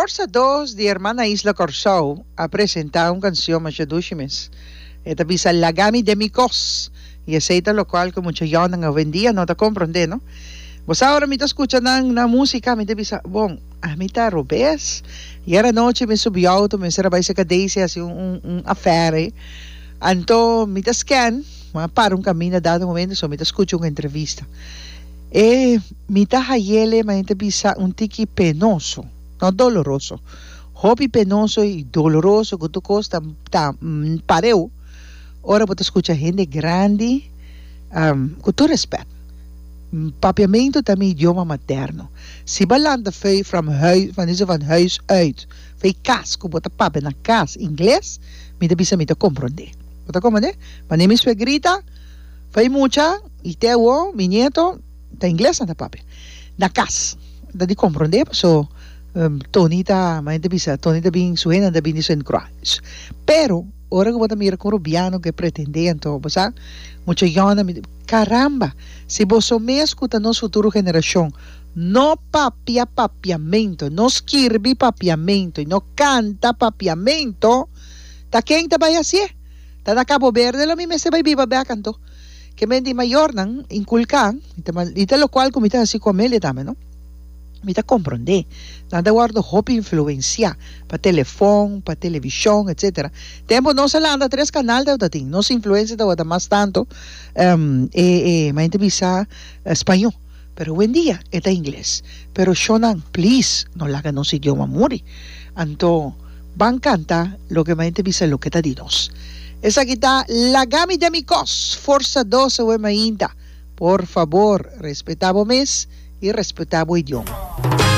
Forsa Dos di Hermana Isla Kòrsou a presentá un kansion masha dushi mes. E ta bisa Laga mi den mi kos. I esei ta lokual ku mucha yònnan awendia no ta komprondé, no? Bo sa ora mi ta skucha nan nan músika mi ta bisa, bon, ami ta robes? Ayer anochi mi subi outo mi mester a bai serka Daisy hasi un un un affair ei. Anto mi ta scan, mi a para un kaminda dado momento so mi ta skucha un entrevista. E mi ta hayele ma e ta bisa un tiki penoso, no doloroso. Hopi penoso y doloroso cu tur cos ta ta pareu ora bo ta scucha hende grandi cu tur respet. Papiamento ta mi idioma materno. Si bo a lanta fey from huis, van dice van huis uit, fey cas cu bo ta papia na cas ingles, mi ta bisa mi ta compronde. Bo ta compronde? Mane mi suegrita fey mucha y te awo mi nieto ta ingles nan ta papia na cas. Ta di compronde paso Tony ta, manera ta bisa, Tony ta bin, su hendenan ta bin di Sint Croix. Pero, ora ku bo ta mira ku un rubiano ke pretendé anto, bo sa, mucha yònda mi, karamba! Si boso mes ku ta nos futuro generashon no papia papiamento, no skirbi papiamento i no kanta papiamento, ta ken ta bai hasié? Ta na Cabo Verde lo mi mester bai biba bèk anto. Ke men di mayornan inkulká, i ta lokual ku mi ta hasi ku Amelia tambe, no? Mi ta komprondé. Nan ta wòrdu hopi influensiá pa telefòn, pa televishon, etsetera. Tempu nos a lanta tres kanal tabata tin. Nos influensia tabata mas tantu e e mi ta bisa spañó. Pero owendia e ta ingles. Pero shownan, please, no laga nos idioma muri. Anto ban kanta loke mi ta bisa loke ta di nos. Esaki ta Laga mi den mi kos! Forsa dos awe mainta. Por fabor, respetá bo mes. I respetá bo idioma.